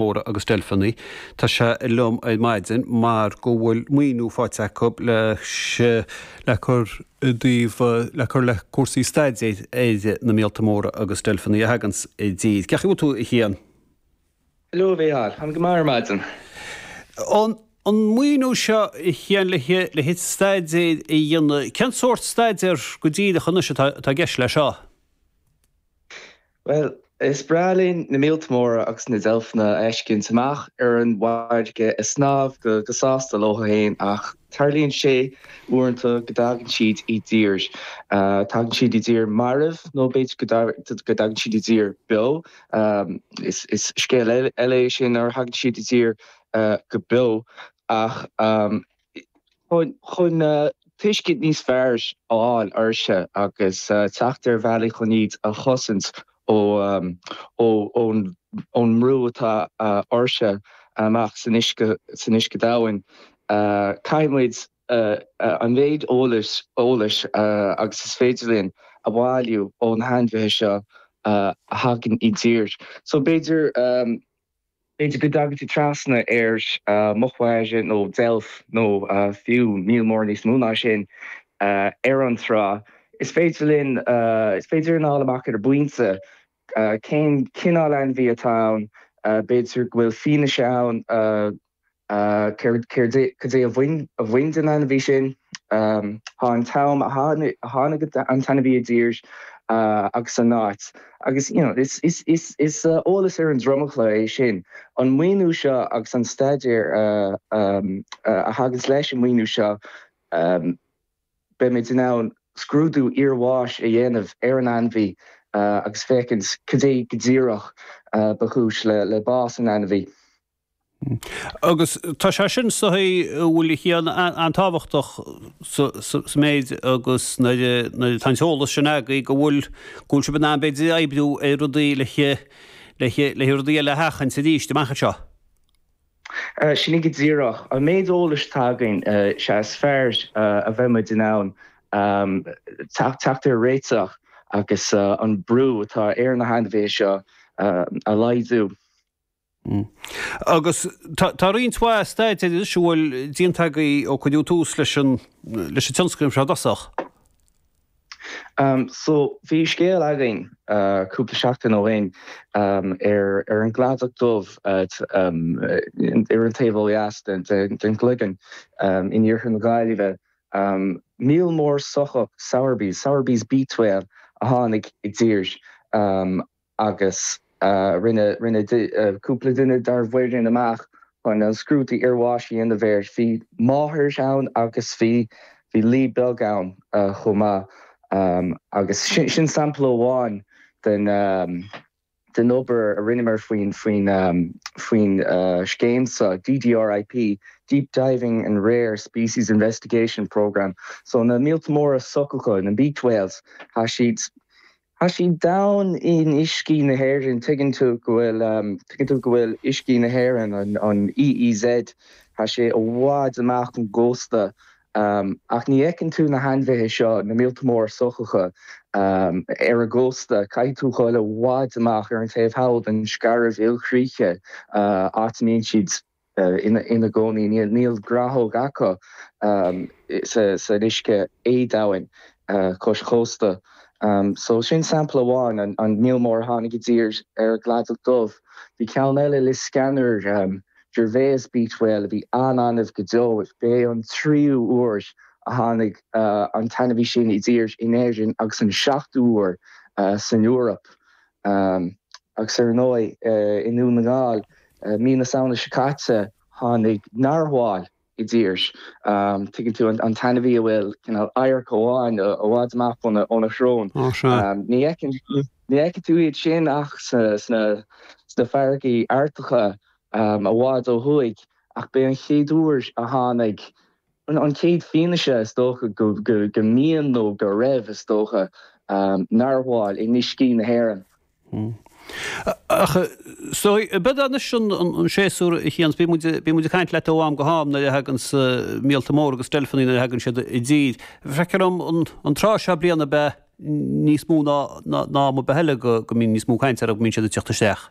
Móra agus Deilfeanna. Tá sé liom ar maidin mar go bhfuil maoiniú faighte acu le cur i dtaobh le cur le cúrsaí staidéir ar na míolta móra agus deilfeanna a thaganns i dtír. Cén chaoi a bhfuil tú a Chian? Hello a Mhícheáil, táim go maith ar maidin. An maoiniú seo a Chian le le staidéir a dhéanamh, cén sórt staidéar go díreach anois atá i gceist leis seo? Bhuel, is breá linn na míolta móra agus na deilfeanna a fheiscint amach ar an bhfarraige ag snámh go sásta leo féin ach tarlaíonn sé uaireanta go dtagann siad i dtír. Tagann siad i dtír marbh nó b'fhéidir go dtagann siad i dtír beo. Is scéal eile é sin nuair a thagann siad i dtír go beo ach chun tuiscint níos fearr a fháil orthu agus teacht ar bhealaí chun iad a chosaint ón mbrú atá orthu amach san uisce, san uisce domhain. Caithfidh muid an mhéid eolais eolais agus is féidir linn a bhailiú ó na hainmhithe seo a thagann i dtír. So b'fhéidir. B'fhéidir go dtagann tú trasna ar muc mhaise nó deilf nó fiú míol mór níos mó ná sin ar an trá. Is féidir linn, is féidir linn a fháil amach ar an bpointe cén cineál ainmhí atá ann, b'fhéidir go bhfuil fianaise ann Céard, cad é a bhain, a bhain den ainmhí sin? Tá an t-am a tháinig an t-ainmhí i dtír agus an áit. Agus, you know, is, is, is, is eolas ar an dromchla é sin. An maoiniú seo agus an staidéar a thaganns leis an maoiniú seo, beimid in ann scrúdú iarbháis a dhéanamh ar an ainmhí agus féachaint cad é go díreach ba chúis le bás an ainmhí. Agus tá sé sin is dóigh a bhfuil a Chian an-tábhachtach sa méid agus nuair atá an t-eolas sin agaibh go bhfuil go bhfuil sibh in ann b'fhéidir oibriú ar rudaí le le rudaí eile a sheachaint arís amach anseo. Sin é go díreach. An méid eolais atá againn, sea is fearr a bheidh muid in ann teacht ar réiteach agus an brú atá ar na hainmhithe seo a laghdú. Agus tá roinnt mhaith staidéir anois a bhfuil déanta agaibh ó cuireadh tús leis an leis an tionscnamh seo i dtosach. So bhí scéal againn cúpla seachtain ó shin ar ar an gCladach Dubh ar an taobh ó dheas den den Chloigeann in iarthar na Gaillimhe. Míol mór sochach Sowerby's, Sowerby's beaked whale, a tháinig i dtír. agus rinne rinne cúpla duine dár bhfoireann amach chun an scrúdú iarbháis a dhéanamh air. Bhí máthair ann agus bhí bhí lao beag ann chomh maith agus sin sin sampla amháin den den obair a rinneamar faoin faoin faoin scéim seo, DDRIP, Deep Diving and Rare Species Investigation Programme. So na míolta móra sochacha, na beaked whales, tá siad Tá siad domhain in uiscí na hÉireann, tuigeann tú go bhfuil, tuigeann tú go bhfuil uiscí na hÉireann, an EEZ, tá sé i bhfad amach ón gcósta ach ní fheiceann tú na hainmhithe seo, na míolta móra sochacha, ar an gcósta. Caithfidh tú dhul i bhfad amach ar an taobh thall den scairbh ilchríche, áit a mbíonn siad. ina gcónaí. Níl gnáthóg acu san uisce éadomhain cois chósta. So sin sampla amháin, an míol mór a tháinig i dtír ar an gCladach Dubh. Bhí ceann eile Liscannor, Gervais beaked whale, a bhí an-annamh go deo. B'é an tríú huair a tháinig an t-ainmhí sin i dtír in Éirinn agus an seachtú huair san Eoraip. Agus ar ndóigh, i nDún na nGall, mí na Samhna seo caite, tháinig narwhal i dtír. Tuigeann tú, an t-ainmhí a bhfuil cineál adharc amháin i bhfad amach óna shrón. Ní fheiceann tú iad sin ach sna farraigí Artacha i bhfad ó thuaidh, ach b'é an chéad uair a tháinig An chéad fianaise, is dócha, go mbíonn nó go raibh, is dócha, narwhal in uiscí na hÉireann. Ach so, b'fhéidir anois an séasúr a Chian, bíonn muid, bíonn muid ag caint leat ó am go ham nuair a thaganns míolta móra agus deilfeanna nuair a thagann siad i dtír. Feictear dom an tráth seo bliana ab ea níos mó ná ná am ar bith eile go go mbíonn níos mó cainte orthu go mbíonn siad ag teacht isteach.